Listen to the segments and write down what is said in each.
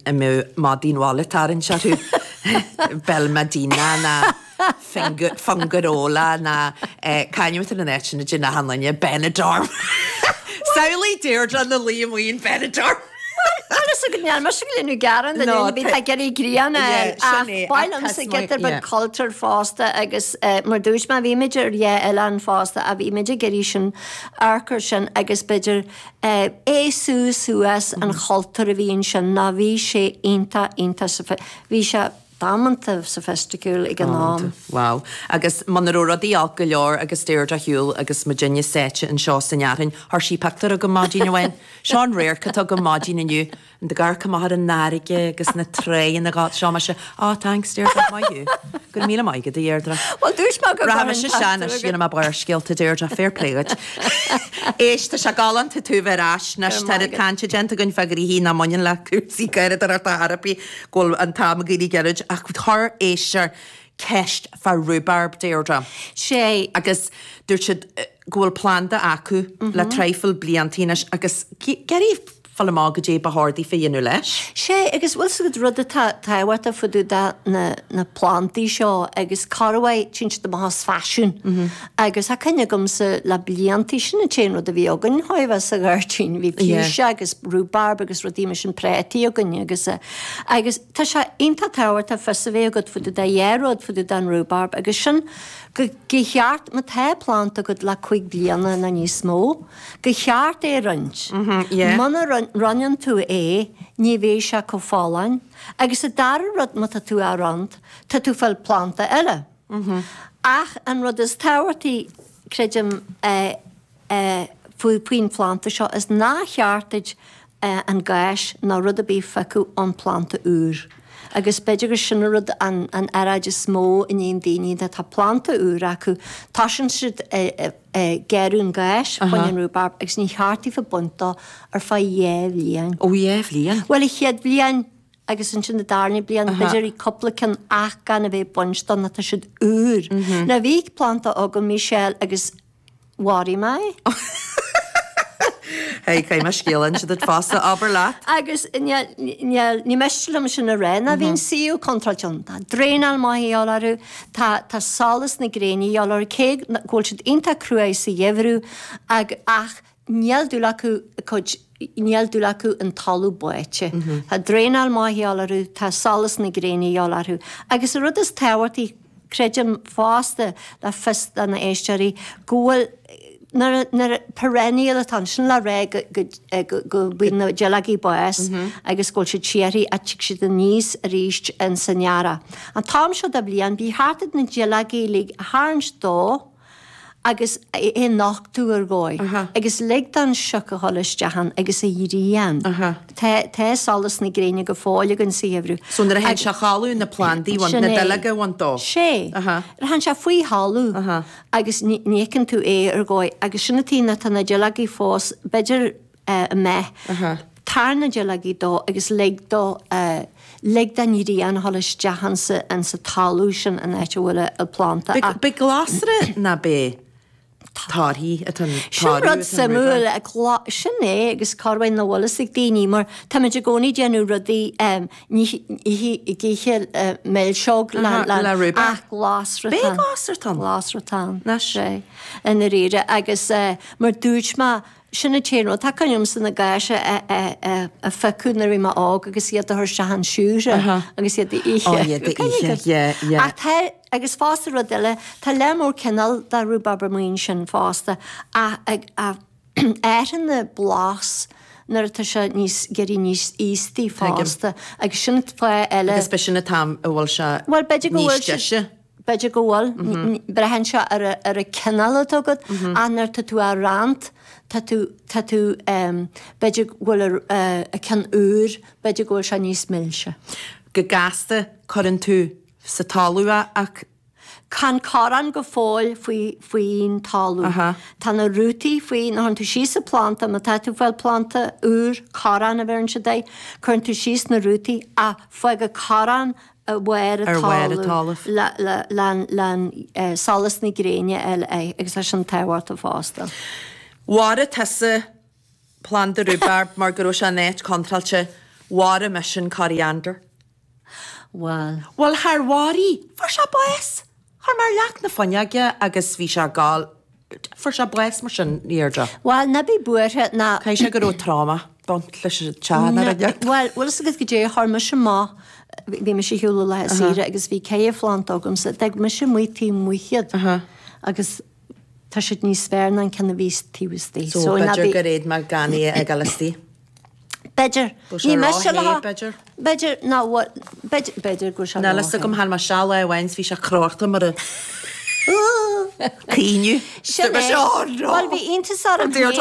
a mbeadh madaí an bhaile ag tarraingt orthu, Belmadina ná Fuengirola ná c'ainm atá ar an áit sin idir na hAnlainne, Benidorm. Samhlaigh Deirdre ina luí amuigh in Benidorm. Bhuel is go ndearna mise go líonadh gearán de No, bhí tá ag iarraidh grian a fháil ach ba mhaith liomsa giota beag cultúir fosta agus mar dúirt mé bhí muid ar dhá oileán fosta ach bhí muid ag iarraidh sin amharc air sin agus b'fhéidir aosú suas an chultúir a bhí ansin ná bhí sé iontach iontach bhí sé damanta soifisticiúil ag an am. Wow. Agus muna raibh rudaí olc go leor agus Deirdre ar shiúl agus muidinne sáite anseo san fhearthainn, chuir sí pictiúr chugam maidin amháin. Seo an radharc atá agam maidin inniu. Ag amharc amach ar an fharraige agus na tráigheanna ag seo mise, oh thanks Deirdre, maith thú. Go raibh míle maith agat a Dheirdre. Bhuel dúirt mé go Rachaidh mise isteach anois, dhéanfaidh mé barrscéalta Deirdre, fair play dhuit. Éist, tá sé galánta tú bheith ar ais anois, tá oiread cainte déanta againn fá ghnoithí nach mbaineann le cúrsaí garraíodóireachta ar chor ar bith, go bhfuil an t-am ag éirí gairid ach chuir éisteoir ceist fá rhubarb, Deirdre. Sé. Agus dúirt siad go bhfuil planda acu le traidhfil bliantaí anois agus ag iarraidh fáil amach goidé ba chóir daofa a dhéanamh leis. Sé, agus bhfuil 's agat rud atá tábhachtach fá dtaobh de na na plandaí seo agus corruair téann siad amach as faisiún agus tá cuimhne agamsa le bliantaí, sin an t-aon rud a bhí againn chóir a bheith sa ghairdín, bhí fuchsia agus rhubarb agus rudaí mar sin prátaí againn agus agus tá sé iontach tábhachtach fios a bheith agat fá dtaobh de dhá rud fá dtaobh den rhubarb agus sin go go cheart má tá planda agat le cuig bliana nó níos mó, Go cheart é a roinnt. Muna roinneann tú é, ní bheidh sé chomh folláin. Agus an dara rud, má tá tú á roinnt, tá tú ag fáil planda eile. Ach an rud is tábhachtaí, creidim, faoin phlanda seo is nár cheart duit an gás ná rud ar bith a phiocadh ón planda úr. Agus b'fhéidir gur sin an rud, an earráid is mó a níonn daoine, tá planda úr acu, tosaíonn siad ag gearradh an gáis fá choinne an rhubarb agus ní cheart daofa baint dó ar feadh dhá bhliain. Ó dhá bhliain? Bhuel, an chéad bhliain agus ansin an darna bliain, b'fhéidir cúpla ceann ach gan a bheith ag baint dó nó tá siad úr. Now bhí planda agam, Michelle, agus mharaigh mé é. Hey, caithfidh mé scéal a inse duit fosta, abair leat. Agus níl, ní miste liom sin a rá, ná bhí an suíomh contráilte ann. Tá draenáil maith a dhíobháil orthu, tá, tá solas na gréine a dhíobháil orthu, cé go bhfuil siad iontach cruaidh sa gheimhreadh ag, ach níl dúil acu a cuid, níl dúil acu an talamh báite. Tá draenáil maith a dhíobháil orthu, tá solas na gréine a dhíobháil orthu. Agus an rud is tábhachtaí, Creidim fosta, le fios do na éisteoirí, go bhfuil, nuair, nuair, perennial atá ann, sin le rá go, go, go, go bhfuil na duilleogaí ag bás agus go bhfuil siad síoraí ach tig siad aníos arís in san earrach. An t-am seo de bhliain, ba cheart duit na duilleogaí uilig a tharraingt dó agus é a nochtadh ar dhóigh agus lig don sioc a dhul isteach ann agus an ghrian. Tá, tá solas na gréine go fóill againn sa gheimhreadh. So nuair a théann sé a chodladh na plandaí a bhaint, na duilleoga a bhaint dó. Sé. Nuair a théann sé faoi thalamh agus ní fheiceann tú é ar dhóigh agus sin an taobh ná tá na duilleogaí fós, b'fhéidir amuigh. Tar na duilleogaí dó agus lig dó, lig don ghrian a dhul isteach insa, insa talamh sin an áit a bhfuil an planda. B'é glasra ná b'é torthaí atá an Sin rud suimiúil, sin é agus corruair nach bhfuil fhios ag daoine mar táimid i gcónaí ag déanamh rudaí ní ag ithe milseog le rhubarb. Ach glasra B'é glasra atá ann? Glasra atá ann. Anois. Sé, i ndáiríre agus mar dúirt mé Sin an t-aon rud. Tá cuimhne agamsa na gáis a phiocadh nuair a bhí mé óg agus iad a chur isteach an siúcra agus iad a ithe. Ó, iad a ithe, yeah, yeah. Ach tá, agus fosta rud eile, tá lear mór cineál de rhubarb amuigh ansin fosta ach athraíonn an blas nuair atá sé níos, ag éirí níos aostaí fosta agus sin fáth eile. Agus b'shin an t-am a bhfuil sé níos deise. B'fhéidir go bhfuil. Braitheann sé ar an cineál atá agat ach nuair atá tú á roinnt, tá tú, tá tú, b'fhéidir go bhfuil an ceann úr, b'fhéidir go bhfuil sé níos milse. Go gasta, cuireann tú sa talamh é ach. Tá an corrán go fóill faoi, faoin talamh. Tá na rútaí faoi, nuair a chuireann tú síos an planda, má tá tú ag fáil planda úr, corrán a bheireann siad air, cuireann tú síos na rútaí ach fág an corrán ar bharr an talaimh le solas na gréine a fháil air agus tá sin tábhachtach fosta. Mharaigh tusa planda rhubarb mar go raibh sé in áit contráilte. Mharaigh mise an coriander. Bhuel. Bhuel, char mharaigh. Fuair sé bás. Chuir mé ar leac na fuinneoige agus bhí sé ag gabháil, fuair sé bás mar sin, Deirdre. Bhuel, ná bí buartha, ná. Caithfidh sé go raibh trauma baint leis an teach ná rud éigin. Bhuel, bhfuil fhios agat goidé, chuir mise amach, bhí mise ar shiúl ar lá saoire agus bhí ceithre phlanda agamsa, d'fhág mise amuigh taobh amuigh iad agus tá siad níos fearr ná an ceann a bhí taobh istigh. So b'fhéidir gur fhéad mé gan é a fhágáil istigh. B'fhéidir. Ní miste le. B'fhéidir. B'fhéidir ná b'fhéidir b'fhéidir go Níl fhios agam tháinig mé isteach lá amháin 's bhí sé crochta mar a caoineadh. Sin é. Bhuel bhí iontas orm féin.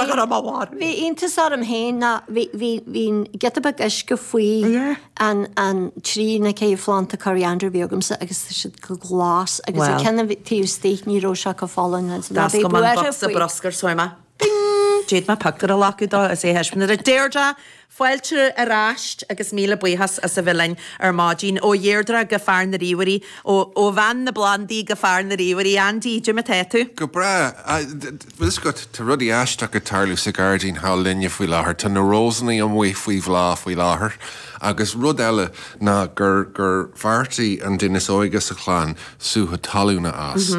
Bhí iontas orm féin ná bhí bhí bhí giota beag uisce faoi an an trí nó ceithre phlanda coriander a bhí agamsa agus tá siad go glas agus an ceann a bhí taobh istigh ní raibh sé chomh folláin ná bhí buartha faoi. Bruscar so mé. Bing! D'fhéad mé pictiúr a ghlacadh dó is é a thaispeáint duit. Deirdre, fáilte ar ais agus míle buíochas as a bheith linn ar maidin. Ó Dheirdre go fear na ríomhairí, ó ó bhean na bplandaí go fear na ríomhairí. Andy, goidé mar atá tú? Go breá. Bhfuil fhios agat, tá rudaí aisteacha ag tarlú sa ghairdín thall linne faoi láthair. Tá na rósannaí amuigh faoi bhláth faoi láthair. Agus rud eile ná gur gur bheartaigh an duine is óige sa chlann sútha talún a fhás.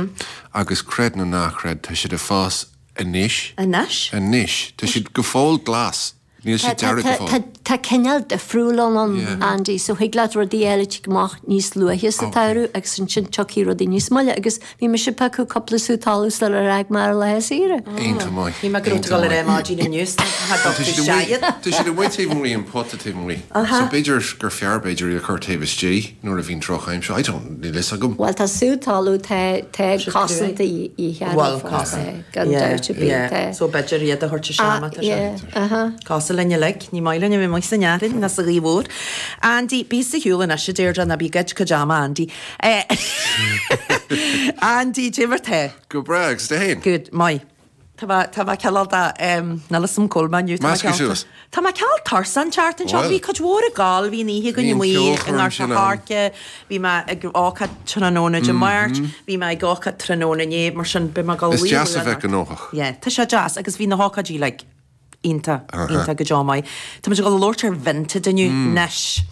Agus creid nó ná creid, tá siad ag fás Anois. Anois? Anois. Tá siad go fóill glas. Níl siad dearg go fóill. Tá cineál difriúil ann, Andy, so thig leat rudaí eile tig amach níos luaithe sa tsamhradh agus ansin tiocfaidh rudaí níos moille agus bhí mise ag piocadh cúpla sú talún sular fhág mé ar lá saoire. Iontach maith. Bhí mé ag dul ar aghaidh maidin inniu is tá tú seaghad. Tá siad amuigh taobh amuigh an pota taobh amuigh. So b'fhéidir gur fearr b'fhéidir iad a chur taobh istigh. Nuair a bhíonn drochaimsir, I don't, níl fhios agam. Bhuel tá sú talún, tá, tá cosaint de dhíth orthu fosta, gan dabht ar bith, tá. So b'fhéidir iad a thabhairt isteach má tá sé. Yeah, uh-huh. Cosúil linn uilig, ní maith linn a bheith amuigh san fhearthainn ná sa ghaoth mhór. Andy, bí sa shiúl anois a Deirdre, ná bí ag goid cuid ama Andy. Andy, goidé mar tá? Go breá, agus tú fhéin? Good, maith. Tá mé, tá mé cineál de, níl fhios a'm cá bhfuil mé inniu, tá mé Measctha cineál, suas. tá mé cineál tuirseach an tseachtain seo, bhí cuid mhór ag gabháil, bhí an oíche againn Bhí an amuigh i ceolchoirm nGort sin a' ann. Choirce, bhí mé ag ócáid tráthnóna Dé Máirt, bhí mé ag ócáid tráthnóna inné, mar sin beidh mé ag dul Is luí deas a luath bheith anocht. gnóthach. Yeah, tá sé deas agus bhí na hócáidí like iontach, iontach go deo maith. Tá muid ag dul a labhairt ar Vinted inniu, anois,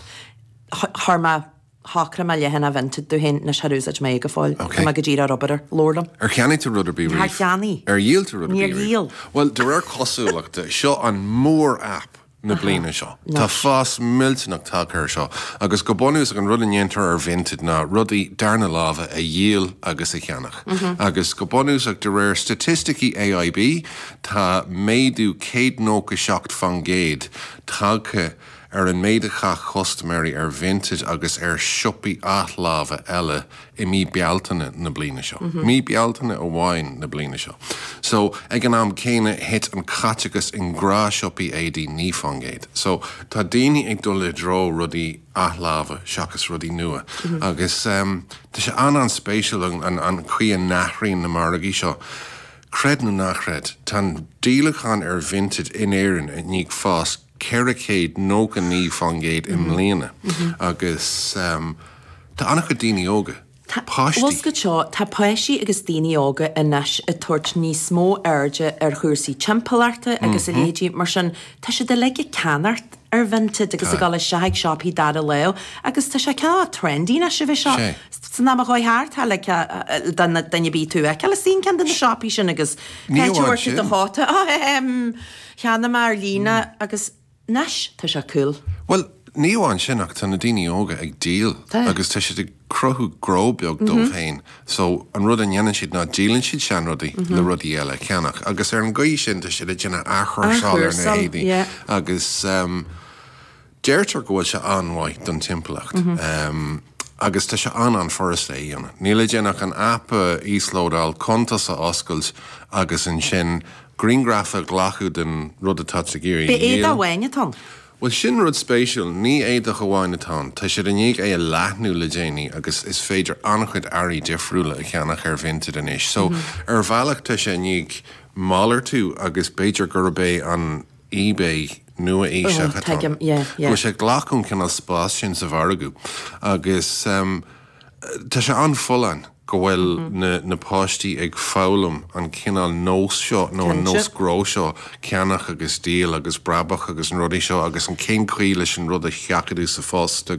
chuir mé, Shocraigh mé leathanach Vinted domh féin, anois char úsáid mé é go fóill. Ok. Tá mé go díreach ar obair air. Labhair liom. Ar cheannaigh tú rud ar bith riamh? Char cheannaigh. Ar dhíol tú rud ar Níor bith riamh? dhíol. Bhuel, de réir cosúlachta, seo an mór-aip na bliana seo. Tá fás millteanach tagtha air seo. Agus go bunúsach, an rud a ndéantar ar Vinted ná rudaí darna láimhe a dhíol agus a cheannach. Agus go bunúsach, de réir staitisticí AIB, tá méadú 197% tagtha ar an méid a chaith custaiméirí ar Vinted agus ar shiopaí athláimhe eile i mí Bealtaine na bliana seo. Mí Bealtaine amháin na bliana seo. So, ag an am céanna, thit an caiteachas i ngnáthshiopaí éadaí 9%. So, tá daoine ag dul i dtreo rudaí athláimhe seachas rudaí nua. Agus tá sé an-an-spéisiúil an chaoi a n-athraíonn na margaí seo. Creid nó ná creid, tá an díolachán ar Vinted in Éirinn i ndiaidh fás 499% i mbliana agus tá an-chuid daoine óga, páistí. Bhfuil 's agat seo, tá páistí agus daoine óga anois ag tabhairt níos mó airde ar chúrsaí timpeallachta agus a leithéidí, mar sin tá siad uilig ag ceannacht ar Vinted agus ag dul isteach ag siopaí dara lámh agus tá sé cineál trendy anois a bheith seo. San am a chuaigh thart, tá like duine ar bith tú a fheiceáil istigh in ceann de na siopaí sin agus Ní cá amháin bhfuair tú do sin. chóta? Cheannaigh mé ar líne agus anois tá sé cool. Bhuel, ní amháin sin ach tá na daoine óga ag díol Tá. agus tá siad ag cruthú gnó beag dóibh féin. So, an rud a ndéanann siad ná díolann siad seanrudaí le rudaí eile a cheannach agus ar an gcaoi sin tá siad ag déanamh athchúrsáil ar na Athchúrsáil, héadaí yeah. agus ehm deirtear go bhfuil sé an-mhaith don timpeallacht. Ehm agus tá sé an-an-fhurasta é a dhéanamh. Níl le déanamh ach an aip a íoslódáil, cuntas a oscailt agus ansin Grianghraf a ghlacadh den rud atá tú ag iarraidh B'é a dhíol. éadach amháin atá ann. Bhuel, sin rud spéisiúil, ní éadach amháin atá ann. Tá siad i ndiaidh é a leathnú le déanaí agus is féidir an-chuid earraí difriúla a cheannach ar Vinted anois. So, ar bhealach tá sé i ndiaidh malartú agus b'fhéidir gurb é an eBay nua-aoiseach atá ann. Tuigim, yeah, yeah. Go bhfuil sé ag glacadh an cineál spás sin sa mhargadh agus tá sé an-fholláin. go bhfuil na na páistí ag foghlaim an cineál nós seo nó an nós gnó seo, ceannach agus díol agus brabach agus na rudaí seo agus an cén chaoi leis an rud a sheachadadh sa phost agus.